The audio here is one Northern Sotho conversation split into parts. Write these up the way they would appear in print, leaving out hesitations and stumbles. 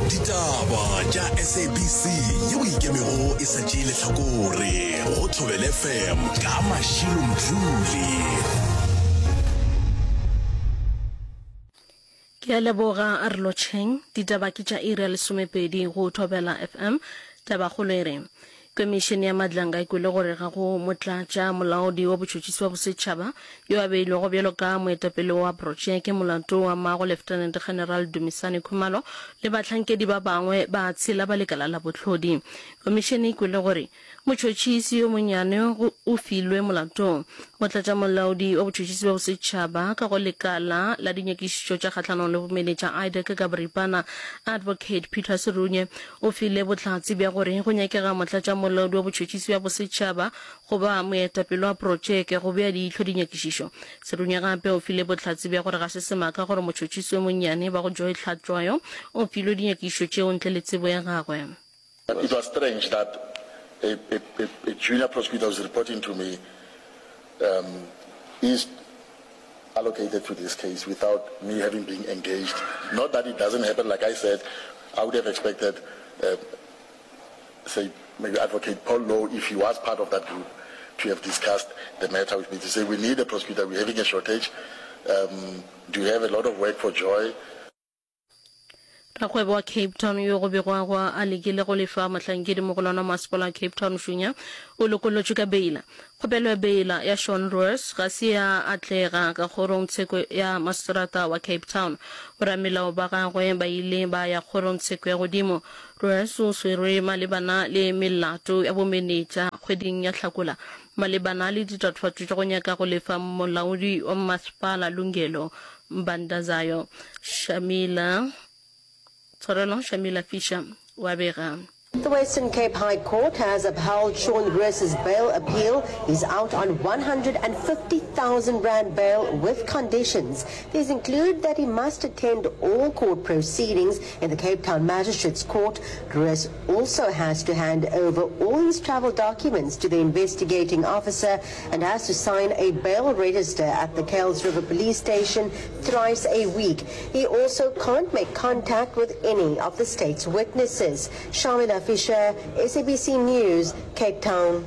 Ditaba tša SABC yeo e ikemego e sa tšee lehlakore go Thobela FM ka Mashilo Mdluli. Ke a leboga, a re lotšheng. Ditaba ke tša iri ya lesomepedi go Thobela FM. Tabakgolo e re, Komišene ya Madlanga e kwele gore ga go motlatša molaodi wa botšhotšhisi wa bosetšhaba yo a beilwego bjalo ka moetapele wa protšeke molato wa mago Lieutenant General Dumisani Khumalo le bahlankedi ba bangwe ba tshela ba lekala la bohlodi. Komišene e kwele gore Motšhotšhisi yo monnyane go o filwe molato. Motlatšamolaodi wa botšhotšhisi bja bosetšhaba ka go Lekala la Dinyakišišo tša Kgahlanong le Bomenetša, IDAC, ka boripana, Advocate Peter Serunye, o file bohlatse bja gore go nyakega motlatšamolaodi wa botšhotšhisi bja bosetšhaba go ba moetapele wa protšeke go bea leihlo dinyakišišo. Serunye gape o file bohlatse bja gore ga se semaka gore motšhotšhisi yo monnyane ba go Joy Hlatšwayo o filwe dinyakišišo tšeo ntle le tsebo ya gagwe. It was strange that a, a, a, a junior prosecutor who's reporting to me um, is allocated to this case without me having been engaged. Not that it doesn't happen, like I said, I would have expected, uh, say, maybe Advocate Paul Lowe, if he was part of that group, to have discussed the matter with me, to say, we need a prosecutor, we're having a shortage, um, do you have a lot of work for Joy? Rakgwebo wa Cape Town yo go begwago a lekile go lefa mohlankedi mogolwane wa masepala wa Cape Town Shunya o lokollotšwe ka beila. Kgopelo ya beila ya Sean Roos ga se ya atlega ka kgorongtsheko ya maseterata wa Cape Town. Boramelao ba gagwe ba ile ba ya kgorongtsheko ya godimo. Roos o swerwe malebana le melato ya bomenetša kgweding ya Hlakola malebana le ditatofatšo tša go nyaka go lefa molaodi wa masepala Lungelo Mbandazayo Shamila Tshwarelo Shamila Fisher wa bega. The Western Cape High Court has upheld Sean Roos's bail appeal. He's out on 150,000 rand bail with conditions. These include that he must attend all court proceedings in the Cape Town Magistrates Court. Roos also has to hand over all his travel documents to the investigating officer and has to sign a bail register at the Kuils River Police Station thrice a week. He also can't make contact with any of the state's witnesses. Shamila Fisher, SABC News, Cape Town.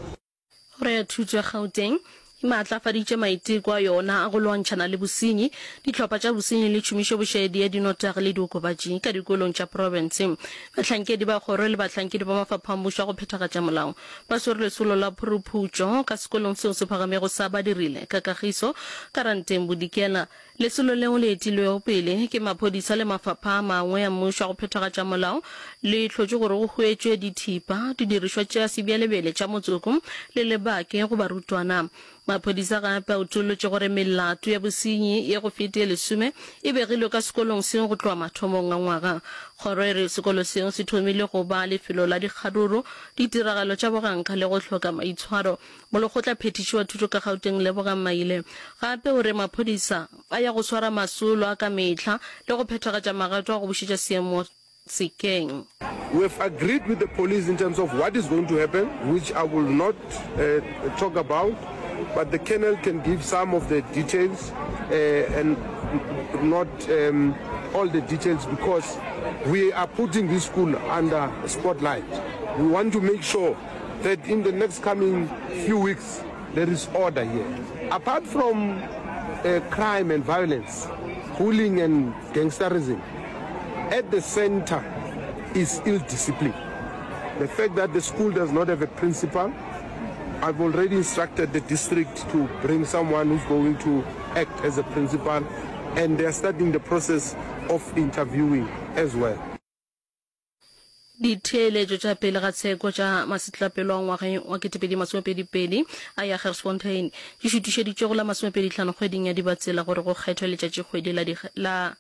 Kgoro ya Thuto ya Gauteng e maatlafaditše maiteko a yona a go lwantšhana le bosenyi, dihlopha tša bosenyi le tšhomišobošaedi ya dinotagi le diokobatši ka dikolong tša profense. Bahlankedi ba kgoro le bahlankedi ba mafapha a mmušo a go phethagatša molao ba swere lesolo la phuruphutšo ka sekolong seo se phagamego sa Badirile ka Kagiso ka Ranteng Bodikela. Lesolo leo le etilwego pele ke maphodisa le mafapha a mangwe a mmušo a go phethagatša molao le hlotše gore go hwetšwe dithipa, didirišwa tša sebjalebjale tša motsoko le lebake go barutwana. Maphodisa gape a utollotše gore melato ya bosenyi ye go fete ye lesome e begilwe ka sekolong seo go tloga mathomong a ngwaga. Kgoro e re sekolo seo se thomile go ba lefelo la dikgaruru, ditiragalo tša boganka le go hloka maitshwaro. Molekgotla phethiši wa thuto ka Gauteng Lebogang Maile gape o re maphodisa a ya go swara masolo a ka mehla le go phethagatša magato a go bušetša seemo sekeng. We have agreed with the police in terms of what is going to happen, which I will not talk about, but the colonel can give some of the details and not all the details because we are putting this school under spotlight. We want to make sure that in the next coming few weeks there is order here. Apart from uh, crime and violence, bullying and gangsterism, at the center is ill discipline. The fact that the school does not have a principal, I've already instructed the district to bring someone who's going to act as a principal, and they are starting the process of interviewing as well. Ditheeletšo tša pele ga tsheko tša masetlapelo a ngwageng wa 2022 a ya Gersfontein di šutišeditšwe go la masomepedihlano kgweding ya Dibatsela gore go kgethwe letšatšikgwedi la la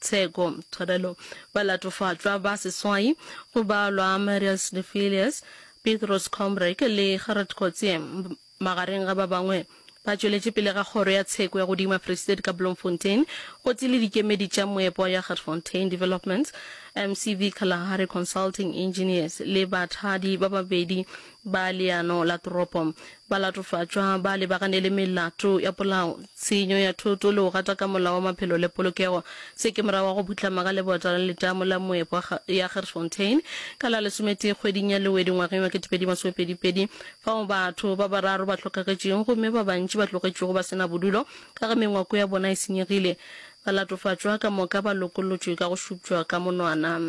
tsheko. Tshwarelo. Balatofatšwa ba seswai go balwa Marius de Villiers, Petrus Combrink le Gerrit Coetzee magareng ga ba bangwe, ba tšweletše pele ga Kgoro ya Tsheko ya Godimo ya Free State ka Bloemfontein gotee le dikemedi tša moepo wa Jagersfontein Developments. MCV Kalahari Consulting Engineers le bathadi ba babedi ba leano la toropo. Balatofatšwa ba lebagane le melato ya polao, tshenyo ya thoto le go gataka molao wa maphelo le polokego. Se ke morago ga go phuhlama ga lebota la letamo la moepo ya Gertfontein ka la lesometee kgweding ya Lewedi ngwageng wa 2022 fao batho ba bararo ba hlokagetšego gomme ba bantši ba tlogetšwego ba se na bodulo ka ge mengwako ya bona e senyegile. Balatofatšwa ka moka ba lokollotšwe ka go šupšwa ka monwana.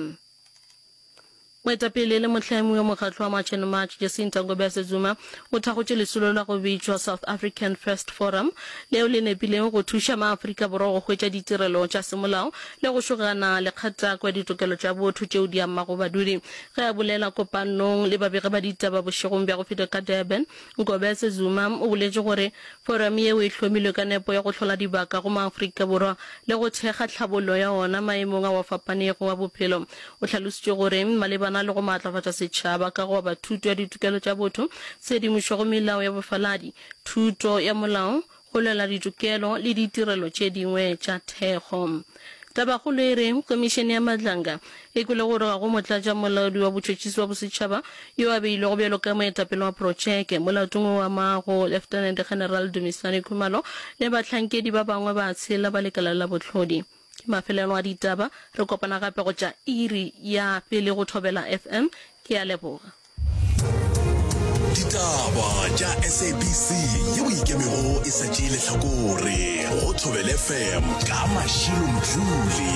Moetapele le mohlami wa mokgatlo wa March and March, Jacinta Ngobese Zuma, o thakgotše lesolo la go bitšwa South African First Forum, leo le nepilego go thuša maAfrika Borwa go hwetša ditirelo tša semolao le go šogana le kgatako ya ditokelo tša botho tšeo di amago badudi. Ge a bolela kopanong le babegi ba ditaba bošegong bja go feta ka Durban, Ngobese Zuma o boletše gore forum yeo e hlomilwe ka nepo ya go hlola dibaka go maAfrika Borwa le go thekga tlhabollo ya ona maemong ao a fapanego a bophelo. O hlalositše gore malebana le go maatlafatša setšhaba ka go aba thuto ya ditokelo tša botho, tshedimošo go melao ya bofaladi, thuto ya molao, go lwela ditokelo le ditirelo tše dingwe tša thekgo. Tabakgolo e re Komišene ya Madlanga e kwele gore ga go motlatšamolaodi wa botšhotšhisi wa bosetšhaba yo a beilwego bjalo ka moetapele wa protšeke molatong o amago Lieutenant General Dumisani Khumalo le bahlankedi ba bangwe ba tshela ba lekala la bohlodi. Ke mafelelo a ditaba, re kopana gape go tša iri ya pele go Thobela FM. Ke a leboga. Ditaba tša SABC yeo e ikemego e sa tšee lehlakore go Thobela FM ka Mashilo Mdluli.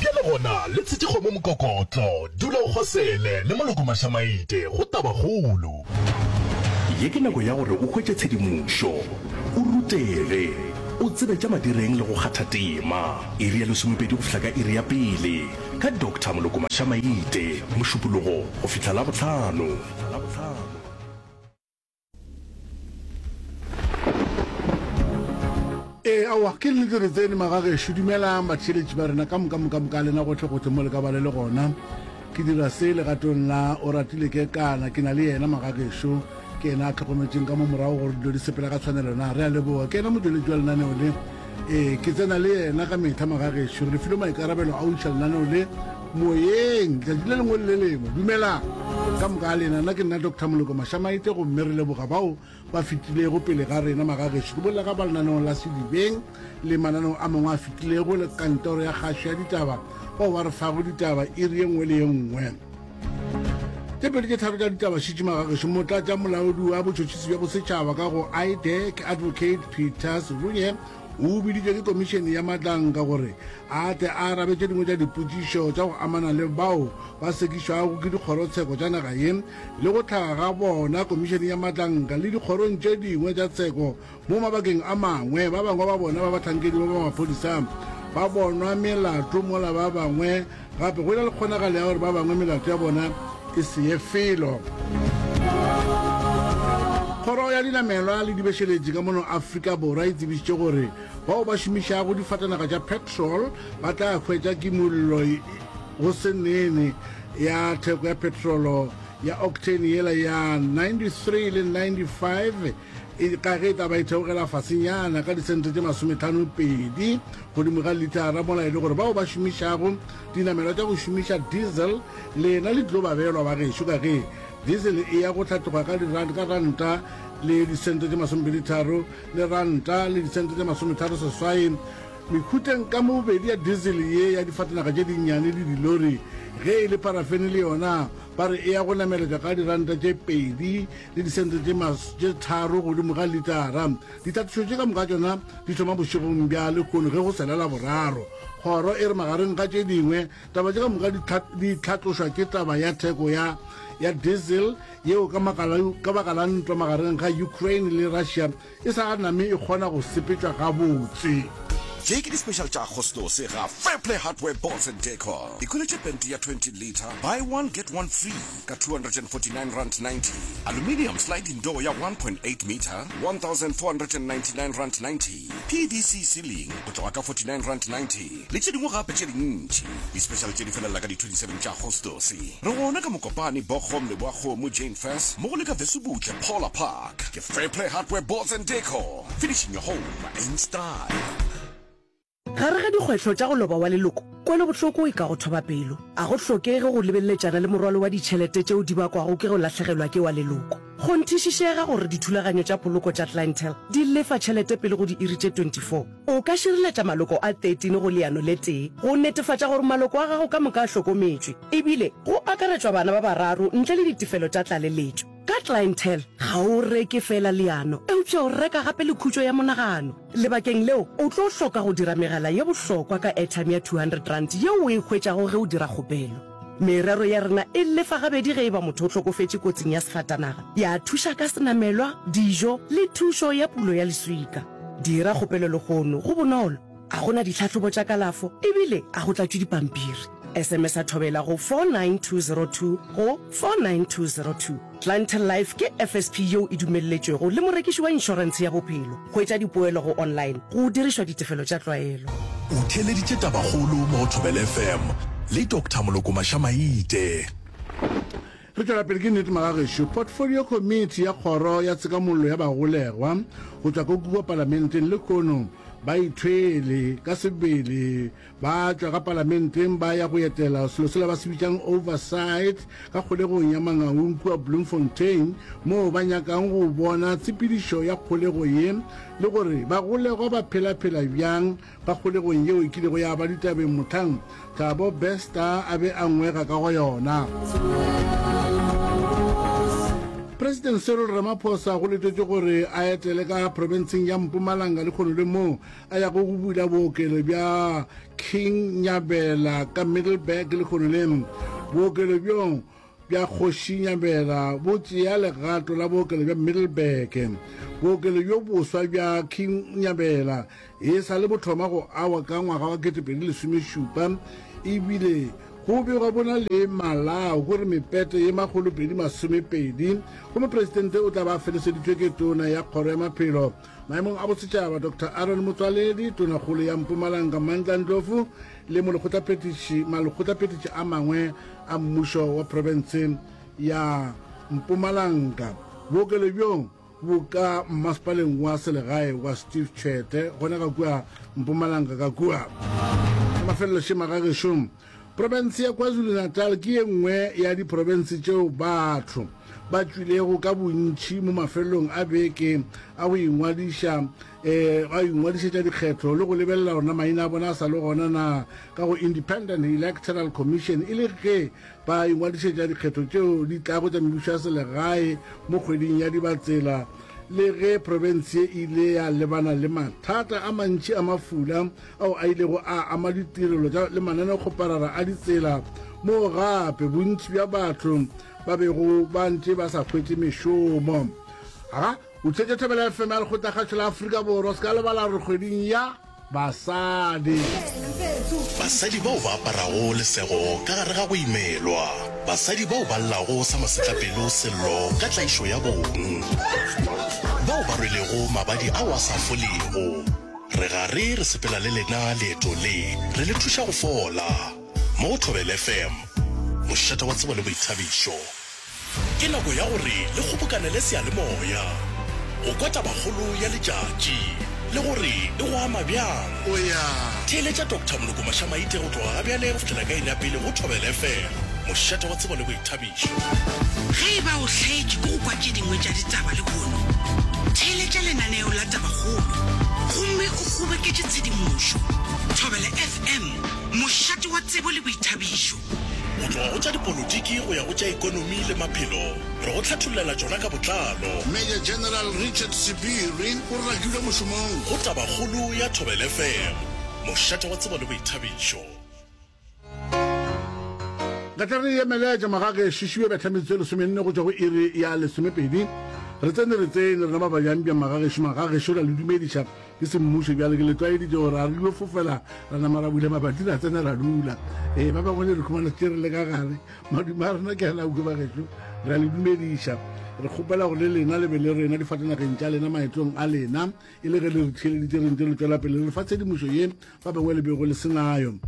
Bjale gona le tshetše kgomo mokokotlo, dula o kgosele le Moloko Mašamaite go Tabakgolo. Ye ke nako ya gore o hwetše tshedimošo, o rutege, o tsebe tša madireng le go kgatha tema. Iri ya lesomepedi go fihla ka iri ya pele, ka Doctor Moloko Mašamaite, Mošupologo go fihla Labohlano. Ee, aowa, ke nnete re tsene magagešo. Dumelang batheeletši ba rena ka moka, moka, moka a lena gohle, gohle mo le ka ba le le gona. Ke dira se legatong la Oratile Kekana, ke na le yena magagešo, ke yena a tlhokometšeng ka mo morago gore dilo di sepela ka tshwanelo na. Re a leboga, ke yena motšweletši wa lenaneo le. Ee, ke tsena le yena ka mehla magagešo, re filwe maikarabelo a go iša lenaneo le moyeng letšatši le lengwe le le lengwe. Dumelang ka moka a lena, nna ke nna Doctor Moloko Mašamaite gomme re leboga bao ba fetilego pele ga rena magagešo. Ke bolela ka ba lenaneong la Sedibeng le mananeo a mangwe a fetilego le kantoro ya kgašo ya ditaba bao ba re fago ditaba iri ye nngwe le ye nngwe. Tše pedi tše tharo tša ditaba šitše magagešo. Motlatša molaodi wa botšhotšhisi bja bosetšhaba ka go IDAC Advocate Peter Serunye o biditšwe ke komišene ya Matlanka gore a tle a arabe tše dingwe tša dipotšišo tša go amana le bao ba sekišwago ke dikgorotsheko tša naga ye le go hlaga ga bona komišene ya Matlanka le dikgorong tše dingwe tša tsheko mo mabakeng a mangwe. Ba bangwe ba bona ba bahlankedi ba ba maphodisa ba bonwa melato mola ba bangwe gape go na le kgonagalo ya gore ba bangwe melato ya bona e se ye felo. Kgoro ya Dinamelwa le Dibešeletši ka mono Afrika Borwa e tsebišitše gore bao ba šomišago difatanaga tša petrol ba tla hwetša kimollo go se nene ya theko ya petrolo ya octane yela ya 93 le 95 e, ka ge e tla ba e theogela fasenyana ka disente tše masometlhanopedi godimo ga litara, mola e le gore bao ba šomišago dinamelwa tša go šomiša diesel lena le tlo ba beelwa ba gešo ka ge diesel e ya go hlatloga ka ka ranta le disente tše masomepeditharo le ranta le disente tše masometharo seswai mehuteng ka mo bobedi ya diesel ye ya difatanaga tše dinnyane le dilori. Ge e le parafene le yona ba re e ya go nameletšwa ka diranta tše pedi le disente tše tše tharo godimo ga litara. Ditlhatlošo tše ka moka tšona di thoma bošegong bja lehono ge go sela Laboraro. Kgoro e re magareng ga tše dingwe, taba tše ka moka di hlatlošwa ke taba ya theko ya ya diesel yeo ka ka baka la ntwa magareng ga Ukraine le Russia e sa name e kgona go sepetšwa gabotse. Tše ke di-special tša Agostose ga Fairplay Hardware Boards and Decor. Ikhweletše pente ya 20 litre, buy one get one free ka R249.90. Aluminium sliding door ya 1.8 metre, R1,499.90. PVC ceiling go tloga ka R49.90 le tše dingwe gape tše dintši. Di-special tše di felela ka di 27 tša Agostose. Re gona ka Mokopane, Bochum, Leboakgomo, Jane Furse, mmogo le ka Vesubutle, Paula Park. Ke Fairplay Hardware Boards and Decor, finishing your home in style. Gare ga dikgwetlho tša go loba wa leloko, kwelobohloko e ka go thoba pelo. A go hlokege go lebeleletšana le morwalo wa ditšhelete tšeo di bakwago ke go lahlegelwa ke wa leloko. Kgonthišišega gore dithulaganyo tša poloko tša Clientele di lefa tšhelete pele go diiri tše 24. O ka šireletša maloko a 13 go leano le tee go netefatša gore maloko a gago ka moka a hlokometšwe, ebile go akaretšwa bana ba bararo ntle le ditefelo tša tlaleletšo. Ka Clientele, ga o reke feela leano, eupša o reka gape le khutšo ya monagano. Lebakeng leo, o tlo hloka go dira megala ye bohlokwa ka airtime ya R200 yeo o e hwetšago ge o dira kgopelo. Merero ya rena e lefa gabedi ge e ba motho o hlokofetše kotsing ya sefatanaga, ya thuša ka senamelwa, dijo le thušo ya pulo ya leswika. Dira kgopelo lehono, go bonolo. A go na ditlhahlobo tša kalafo ebile a go tlatšwe dipampiri. SMS-a Thobela go 49202 go 49202. Clientele Life ke FSP yeo e dumelletšwego le morekiši wa inšorentshe ya bophelo. Hwetša dipoelo go online go dirišwa ditefelo tša tlwaelo. O theeleditše Tabakgolo mo go Thobela FM le Doctor Moloko Mašamaite. Re tšwela pele ke nnete magagešo. Portfolio Committee ya Kgoro ya Tshekamollo ya Bagolegwa go tšwa ko kua Palamenteng lehono ba ithwele ka sebele ba tšwa ka Palamenteng ba ya go etela selo sela ba se bitšang oversight ka kgolegong ya Mangaung kua Bloemfontein moo ba nyakang go bona tshepedišo ya kgolego ye le gore bagolegwa ba phela-phela bjang Ka kgolegong yeo e kilego ya ba ditabeng mohlang Thabo Bester a be a ngwega ka go yona. President Cyril Ramaphosa go letetšwe gore a etele ka profenseng ya Mpumalanga lekgono le moo a yago go bula bookelo bja King Nyabela ka Middelburg lekgono le. Bookelo bjo bja Kgoši Nyabela bo tšea legato la bookelo bja Middelburg. Bookelo bjo boswa bja King Nyabela e sa le bo thoma go awa ka ngwaga wa 2017 ebile go begwa bo na le malao gore mepete ye 220 gomme Presidente o tla ba a feleseditšwe ke Tona ya Kgoro ya Maphelo maemong a Bosetšhaba Doctor Aaron Motsoaledi, Tonakgolo ya Mpumalanga Mandla Ndlovu le molekgotlaphethiši malekgotlaphethiši a mangwe a mmušo wa profense ya Mpumalanga. Bookelo bjo bo ka mmasepaleng wa selegae wa Steve Tshwete gona ka kua Mpumalanga ka kua. Mafelelo šema ga gešo. Profense ya KwaZulu-Natal ke ye nngwe ya diprofense tšeo batho ba tšwilego ka bontši mo mafelelong a beke a go ingwadiša um a ingwadišetša dikgetho le go lebelela gore na maina a bona a sa le gona na ka go Independent Electoral Commission e le ge ba ingwadišetša dikgetho tšeo di tlago tša mebušo ya selegae mo kgweding ya Dibatsela. Le ge profense ye e ile ya lebana le mathata a mantši a mafula ao a ilego a ama ditirelo tša le mananeokgoparara a ditsela, moo gape bontši bja batho ba bego ba ntše ba sa hwetše mešomo. Aga, o theetša Thobela FM ya Lekgotlakgašo la Afrika Borwa. Se ka lebala gore kgweding ya Basadi. Basadi bao ba aparago lesego ka gare ga go imelwa. Basadi bao ba llago sa masetlapelo sello ka tlaišo ya bong. Bao ba rwelego mabadi ao a sa folego. Re gare re sepela le lena leeto le, re le thuša go fola. Mo go Thobela FM, mošate wa tsebo le boithabišo. Ke nako ya gore le kgobokanele seyalemoya go kwa tabakgolo ya letšatši le gore e go ama bjang. Theeletša Doctor Moloko Mašamaite go tloga ga bjale go fihlela ka iri ya pele go Thobela FM, mošate wa tsebo le boithabišo. Ge e ba o hlaetšwe ke go kwa tše dingwe tša ditaba lehono, theeletša lenaneo la Tabakgolo gomme o kgoboketše tshedimošo. Thobela FM, mošate wa tsebo le boithabišo. Go tloga go tša dipolotiki go ya go tša ekonomi le maphelo, re go hlathollela tšona ka botlalo. Major General Richard Sebiri o rakilwe mošomong. Go Tabakgolo ya Thobela FM, mošate wa tsebo le boithabišo. Re tla re emeletša magagešo šiwe betha metsotso e lesomenne go tšwa go iri ya lesomepedi. Re tsene re tsene rena ba bjang magagešo magagešo ra le dumediša ke semmušo bjale ke le tlwaeditše gore a re dio fofela ra nama ra bula mabati ra tsena ra dula. Ee ba bangwe le re khumana tše re le ka gare madume a rena ke a lauke bagešo ra le dumediša. Re kgopela gore le lena le be le rena difatanageng tša lena maetong a lena e le ge le re theeleditše re ntse re tšwela pele re fa tshedimošo ye ba bangwe le bego le se nayo.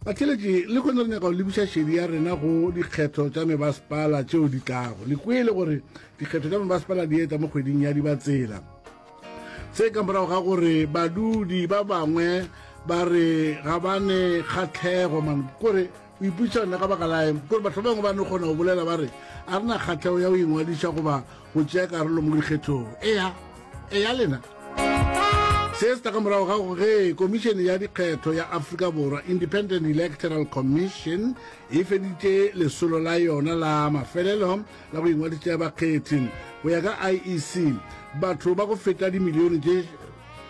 Batheeletši, lehono re nyaka go lebiša šedi ya rena go dikgetho tša mebasepala tšeo di tlago. Le kwele gore dikgetho tša mebasepala di etla mo kgweding ya Dibatsela. Se ka morago ga gore badudi ba bangwe ba re ga ba ne kgahlego man kore o ipotšiša nna ka baka la eng kore batho ba bangwe ba no kgona go bolela ba re a re na kgahlego ya go ingwadiša goba go tšea karolo mo dikgethong. Eya, eya lena. Se se tla ka morago ga ge Komišene ya Dikgetho ya Afrika Borwa, Independent Electoral Commission, e feditše lesolo la yona la mafelelo la go ingwadiša bakgethi. Go ya ka IEC, batho ba go feta dimilione tše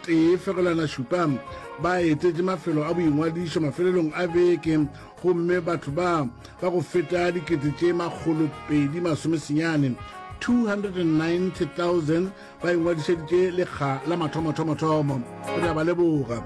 1.7 ba etetše mafelo a boingwadišo mafelelong a beke gomme batho ba ba go feta dikete tše 229, 290,000, ba ingwadišeditše lekga la mathomothomothomo. Re a ba leboga.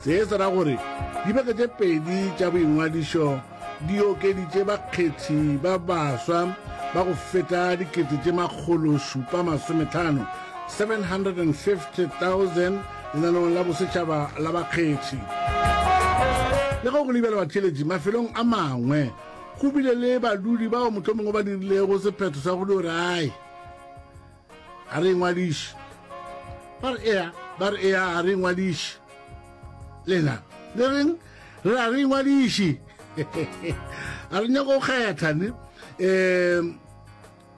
Se se ra gore dibeke tše pedi tša boingwadišo di okeditše bakgethi ba baswa ba go feta dikete tše 750, 750,000, lenaneong la bosetšhaba la bakgethi. Le ge go le bjalo batheeletši, mafelong a mangwe go bile le badudi bao mohlomongwe ba dirilego sephetho sa go dio re ai, ga re ingwadiše. Ba re ea, ba re ea, ga re ingwadiše. Lena le reng? Re a re ingwadiše. A re nyako go kgetha ne. Um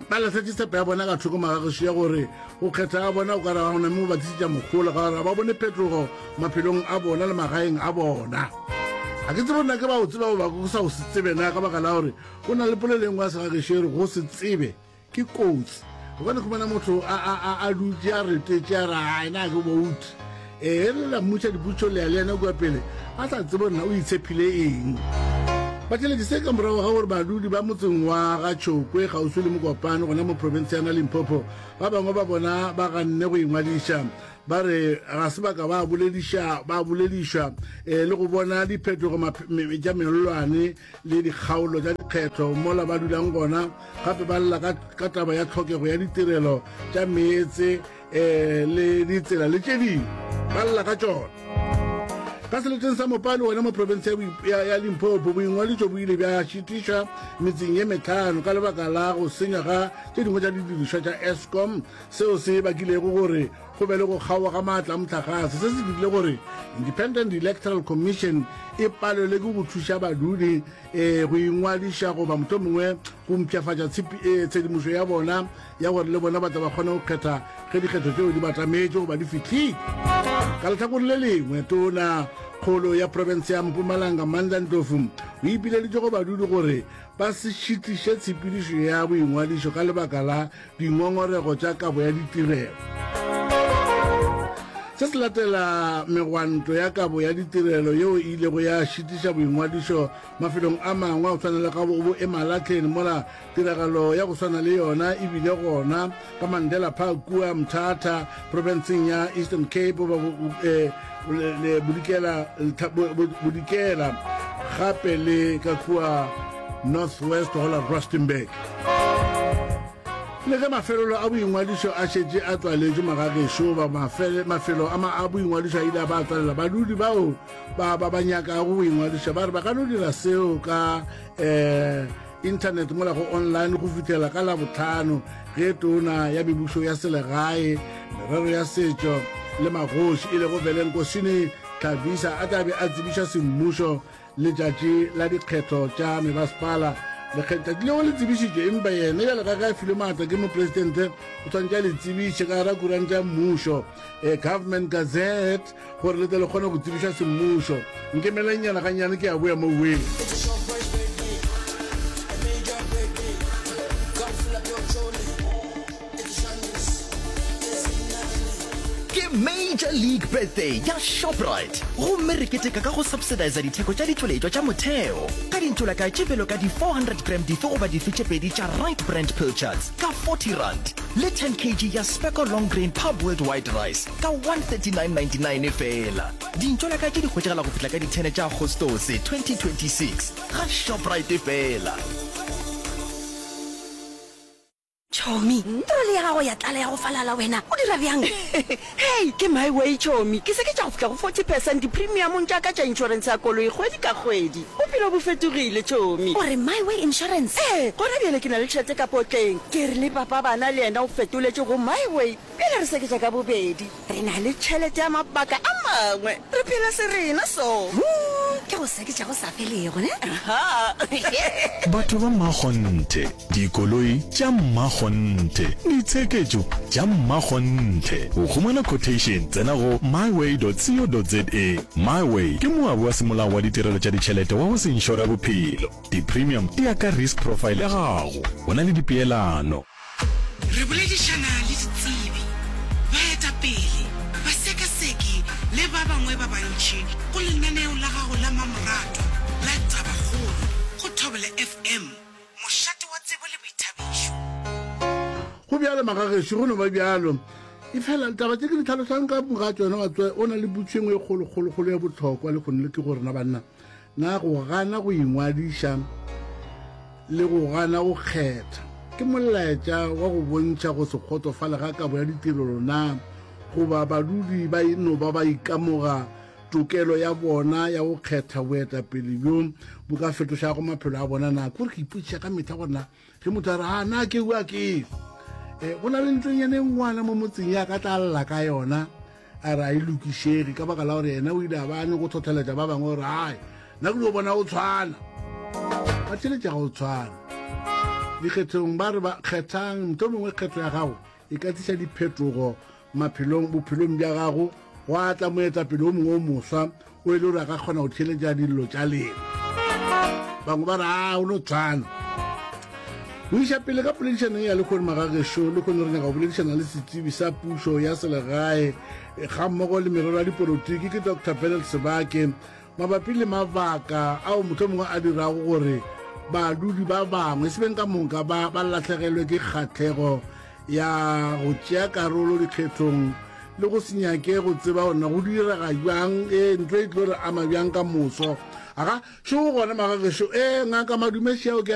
ba lahletše tshepo ya bona ka thoko magagešo ya gore go kgetha ga bona o ka re ga gona mme go ba tlišetša mohola ka gore ga ba bone phetogo maphelong a bona le magaeng a bona. Ga ke tsebe nna ke ba o tseba goba go sa o se tsebe na ka baka la gore go na le polelo e nngwe ya segagešo e re go se tsebe Ke kotsi. O ka no khumana motho a, a, a, a dutše a retetše a re, Ai, na ke bout. Ee, re la mmotša dipotšo le ya le yena kua pele, a sa tsebe gore na o itshephile eng. Batheeletši, se ka morago ga gore badudi ba motseng wa ga Tšhokwe kgauswi le Mokopane gona mo profense ya Limpopo ba bangwe ba bona ba ganne go ingwadiša ba re ga se ba ka ba bolediša ba boledišwa eh, le go bona diphetogo tša mellwane le dikgaolo tša dikgetho mola ba dulang gona, gape ba lla ka, ka taba ya tlhokego ya ditirelo tša meetse um le ditsela le tše dingwe ba lla ka tšona. Ka seleteng sa Mopani gona mo profense ya, ya, ya Limpopo, boingwadišo bo ile bja šitišwa metseng ye metlhano ka lebaka la go senywa ga tše dingwe tša didirišwa tša Eskom, seo se bakilego gore go be le go kgaoga ga maatla a mohlagase. Se se dirile gore Independent Electoral Commission e palelwe ke go thuša badudi eh, go ingwadiša goba mohlomongwe go mpshafatša eh, tshedimošo ya bona ya gore le bona ba tla ba kgone go kgetha ge dikgetho tšeo di batametše goba di fihlile. Ka lehlakore le lengwe, tona kgolo ya profense ya Mpumalanga Mandla Ndlovu o ipileditše go badudi gore ba se šitiše tshepedišo ya boingwadišo ka lebaka la dingongorego tša kabo ya ditirelo. Se se latela megwanto ya kabo ya ditirelo yeo e ilego ya šitiša boingwadišo mafelong a mangwe a go swana le ga bo Emalahleni mola tiragalo ya go swana le yona e bile gona ka Mandela Park kua Mthatha profenseng ya Eastern Cape goba eh, bodikela gape le ka kua North West go la Rustenburg. Le ge mafelelo a boingwadišo a šetše a tswaletšwe magagešo goba mafelo a boingwadišo a ile a ba a tswalela, badudi bao ba ba ba nyakago go ingwadiša ba re ba ka no dira seo ka um internet mola go online go fihlela ka Labohlano ge tona ya mebušo ya selegae, merero ya setšo le magoši e lego Velenkosini Hlabisa a tla be a tsebiša semmušo Letšatši la dikgetho tša mebasepala, lekgetšatši leo le tsebišitšwe, empa yena bjalo ka ge a filwe maatla ke mopresidente o swanetše a le tsebiše ka gara kuranta ya mmušo, eh, Government Gazette, gore le tle le kgone go tsebišwa semmušo. Nkemelengnyana gannyane ke a boya mo weng. Ke Major. Soccer League Birthday ya Shoprite gomme re keteka ka go subsidiza ditheko tša ditšweletšwa tša motheo ka dintšolakae tše bjalo ka di 400 gram dife goba dife tše pedi tša Right Brand Pilchards ka R40 le 10 kg ya Specco Long Grain Parboiled White Rice ka R139.99 feela. Dintšolakae tše di hwetšagala go fihla ka di 10 tša Agostose 2026 ga Shoprite feela. Chomi, troli ya gago ya tlala ya go falala wena, o dira bjang? Hei, ke my way Chomi, ke seketša go fihla go 40 percent dipremiamong tša ka tša inšorense ya koloi kgwedi ka kgwedi. Bophelo bo fetogile Chomi. O re My Way Insurance? Ee, gona bjale ke na le tšhelete ka potleng. Ke re le papa bana le yena o fetoletše go My Way. Bjale re seketša ka bobedi. Re na le tšhelete ya mabaka a mangwe. Re phela se rena so. Huu, ke go seketša go sa felego, ne? Aha. Batho ba makgonthe. Dikoloi tša mmakgonthe. Ditsheketšo tša mmakgonthe. Go humana quotation tsena go myway.co.za. MyWay ke moabi wa semolao wa ditirelo tša ditšhelete wa go se inšore bophelo. Di-premium di ya ka risk profile ya gago. Go na le dipeelano. Re boledišana le ditsebi, baetapele, basekaseki le ba bangwe ba bantši go lenaneo la gago la mamoratwa la Tabakgolo go Thobela FM. Mošate wa tsebo le boithabišo. Go bjalo, magagešo, go no ba bjalo. Efela taba tše ke di tlhalosang ka moka tšona, wa tseba, o na le putšo e nngwe e kgolo, kgolo, kgolo ya bohlokwa lehono le ke gore na banna, na go gana go ingwadiša le go gana go kgetha ke molaetša wa go bontšha go se kgotsofale ga kabo ya ditirelo na, goba badudi ba no ba ba ikamoga Tokelo ya bona ya go kgetha boetapele bjo bo ka fetošago maphelo a bona na? Ke gore ke ipotšiša ka mehla gore na ge motho a re a na ke ua ke e go na le ntlonyana e nngwana mo motseng ya ka tla lla ka yona a re a e lokišege ka baka la gore yena o ile a ba a nyako tlhotlheletša ba bangwe gore ai nna ke dio bona o tshwana ba tšheletša ga o tshwana dikgethong ba re ba kgethang motho mongwe kgetho ya gago e ka tliša diphetogo Maphelong, bophelong bja gago, gwa tla moetapele o mongwe o moswa o e le gore a ka kgona go theeletša dillo tša lena. Bangwe ba re, a o no tshwana. Go iša pele ka poledišanong ya lehono magagešo, lehono re nyaka go boledišana le setsebi sa pušo ya selegae gammogo le merero ya dipolotiki ke Doctor Bernard Sebake mabapi le mabaka ao mohlomongwe a dirago gore badudi ba bangwe e se beng ka moka ba ba lahlegelwe ke kgahlego ya go tšea karolo dikgethong le go se nyake go tseba gore na go direga bjang e ntlo e tlo re ama bjang ka moso aga šo gona magagešo e ngaka madume šeo ke.